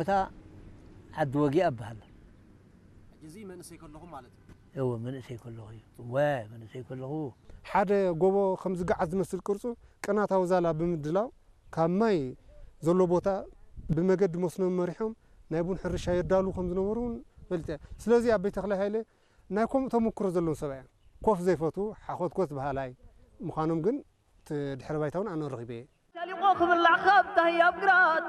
ቦታ ዓዲ ወጊኣ እበሃል። ሕጂ እዚ መንእሰይ ከለኹ ማለት እዩ። እወ፣ መንእሰይ ከለኹ እዩ። እወ፣ መንእሰይ ከለኹ። ሓደ ጎቦ ከም ዝገዓት ዝመስል ቅርጹ ቅናታዊ ዛላ ብምድላው ካብ ማይ ዘሎ ቦታ ብመገዲ መስኖ መሪሖም ናይ ቡን ሕርሻ የዳሉ ከም ዝነበሩ እውን ፈሊጠ። ስለዚ ኣቦይ ተኽላይ ሃይለ ናይ ከምኡ ተመክሮ ዘለዎም ሰብኣይ እዮም። ኮፍ ዘይፈቱ ሓኾትኮት በሃላይ ምዃኖም ግን እቲ ድሕረ ባይታ እውን ኣነ ረኺበ እየ። ሰሊቑ ክብላዕ ካብ ታህያብ ግራት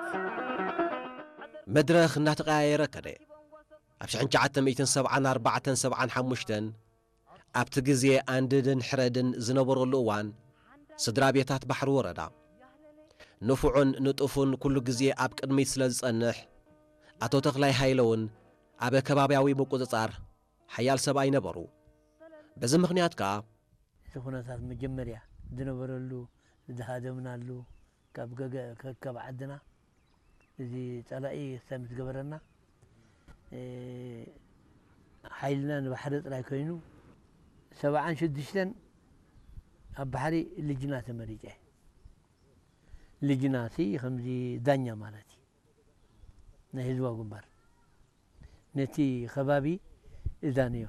መድረኽ እናተቐያየረ ከደ። ኣብ ሽሕን ትሽዓተ ሚእትን ሰብዓን ኣርባዕተን ሰብዓን ሓሙሽተን ኣብቲ ግዜ ኣንድድን ሕረድን ዝነበረሉ እዋን ስድራ ቤታት ባሕሪ ወረዳ ንፉዕን ንጡፉን ኩሉ ግዜ ኣብ ቅድሚት ስለ ዝጸንሕ ኣቶ ተኽላይ ሃይለ እውን ኣብ ከባብያዊ ምቁጽጻር ሓያል ሰብኣይ ነበሩ። በዚ ምኽንያት ከኣ እዚ ኩነታት መጀመርያ ዝነበረሉ ዝሃደምናሉ ካብ ገገ ከከብ ዓድና እዚ ጸላኢ ክሳብ ምስ ገበረና ሓይልና ንባሕሪ ጥራይ ኮይኑ ሰብዓን ሽዱሽተን ኣብ ባሕሪ ልጅና ተመሪጨ። ልጅና ሲ ከምዚ ዳኛ ማለት እዩ ናይ ህዝባዊ ግንባር ነቲ ከባቢ እዛንዮ።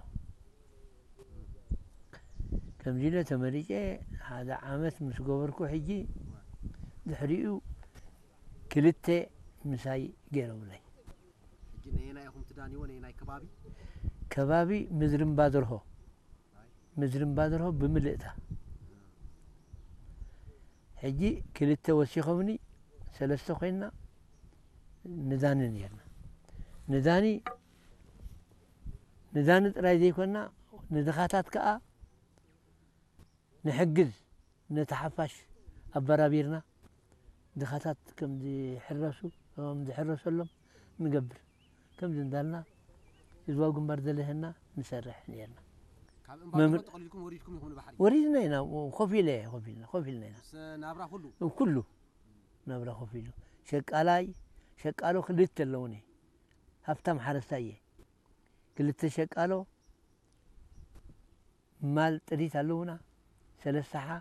ከምዚ ኢለ ተመሪጨ ሓደ ዓመት ምስ ገበርኩ ሕጂ ድሕሪኡ ክልተ ምሳይ ገይሮምለይ። ሕጂ ነየናይ ኢኹም ትዳንይዎ? ነየናይ ከባቢ? ከባቢ ምድሪ እምባ ደርሆ ምድሪ እምባ ደርሆ ብምልእታ ሕጂ ክልተ ወሲኾምኒ ሰለስተ ኮይንና ንዳኒ ነርና። ንዳኒ ንዳኒ ጥራይ ዘይኮንና ንድኻታት ከኣ ንሕግዝ ነቲ ሓፋሽ ኣበራቢርና ድኻታት ከም ዝሕረሱ ከም ዝሕረሰሎም ንገብር ከምዚ እንዳልና ህዝባዊ ግንባር ዘለሀና ንሰርሕ ነርና። ካብ እምባ ተቐሊልኩም ወሪድኩም ኢኹም ንባሕሪ? ወሪድና ኢና ኮፍ ኢለ ኮፍ ኢልና ኮፍ ኢልና ኢና ምስ ናብራ ኩሉ ኩሉ ናብራ ኮፍ ኢሉ ሸቃላይ ሸቃሎ ክልተ ኣለውኒ ሃብታም ሓረስታይ እየ ክልተ ሸቃሎ ማል ጥሪት ኣለውና ሰለስተ ሓ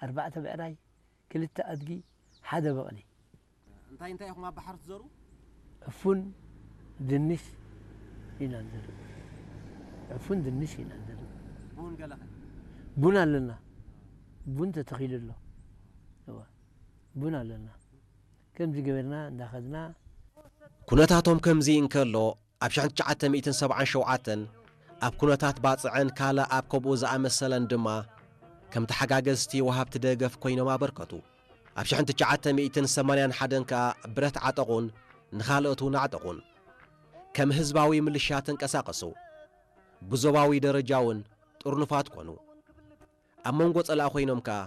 ኣርባዕተ ብዕራይ ክልተ ኣድጊ ሓደ በቕሊ እንታይ እንታይ ኢኹም ኣብ ባሕሪ ትዘሩ? ዕፉን ድንሽ ኢና ንዘርእ ዕፉን ድንሽ ኢና ንዘርእ ቡን ገለኸ? ቡን ኣለና ቡን ተተኺሉ ኣሎ እዋ ቡን ኣለና ከምዚ ገበርና እንዳኸድና ኩነታቶም ከምዚ እንከሎ ኣብ ሽሕን ትሽዓተ ሚእትን ሰብዓን ሸውዓተን ኣብ ኩነታት ባጽዕን ካልእ ኣብ ከምኡ ዝኣመሰለን ድማ ከም ተሓጋገዝቲ ወሃብቲ ደገፍ ኮይኖም ኣበርከቱ። ኣብ ሽሕን ትሽዓተ ሚእትን ሰማንያን ሓደን ከኣ ብረት ዓጠቑን ንኻልኦት እውን ኣዕጠቑን። ከም ህዝባዊ ምልሻ ተንቀሳቐሱ። ብዞባዊ ደረጃ እውን ጥርኑፋት ኮኑ። ኣብ መንጎ ጸላእ ኮይኖም ከኣ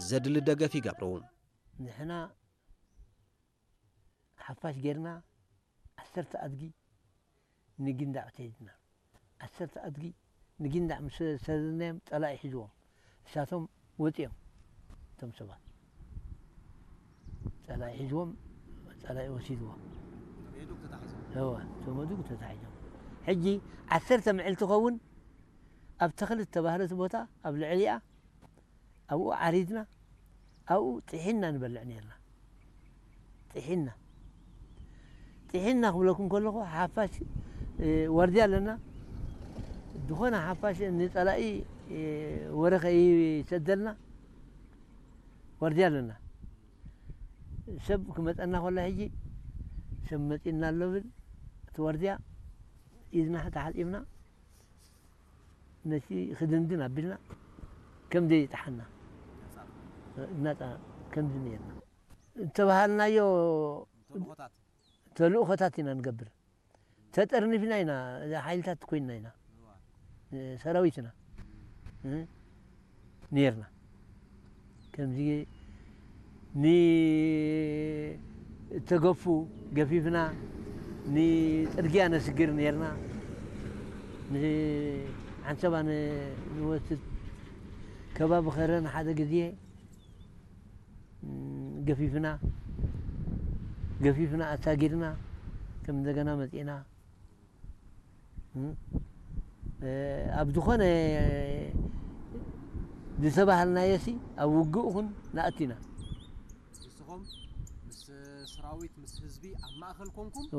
ዘድሊ ደገፍ ይገብሩ። ንሕና ሓፋሽ ጌርና ዓሰርተ ኣድጊ ንጊንዳዕ ተይድና ዓሰርተ ኣድጊ ንጊንዳዕ ምስ ሰደድናዮም ጸላኢ ሒዝዎም እሳቶም ወጺኦም እቶም ሰባት ጸላኢ ሒዝዎም ጸላኢ ወሲድዎም ተመዱግ ተታሒዞም እዋ ተመዱግ ተታሒዞም ሕጂ ዓሰርተ ምዕልቲ ኸውን ኣብ ተኽሊ ዝተባህለት ቦታ ኣብ ልዕሊኣ ኣብኡ ዓሪድና ኣብኡ ጥሒና ንበልዕ ነርና ጥሒና ጥሒና ክብለኩም ከለኹ ሓፋሽ ዋርድያ ኣለና ዝኾነ ሓፋሽ ንፀላኢ ወረ ከይሰደልና ዋርድያ ኣለና ሰብ ክመፀና ከሎ ሕጂ ሰብ መፂና ኣሎ ብል እቲ ዋርድያ ኢድና ተሓፂብና ነቲ ክድንድን ኣቢልና ከም ዘይጠሓና እናፃ ከምዚ ነርና ዝተባሃልናዮ ተልእኾታት ኢና ንገብር ተጠርኒፍና ኢና ሓይልታት ኮይንና ኢና ሰራዊትና ነርና ከምዚ ንተገፉ ገፊፍና ንፅርግያ ነስግር ነርና ንዓንሰባ ንወስድ ከባቢ ኸረን ሓደ ግዜ ገፊፍና ገፊፍና ኣሳጊርና ከም እንደገና መፂእና ኣብ ዝኾነ ዝተባሃልናዮ ሲ ኣብ ውግእ ኹን ንኣቲና ንስኹም ምስ ሰራዊት ምስ ህዝቢ ኣብ ማእኸል ኮንኩም እወ።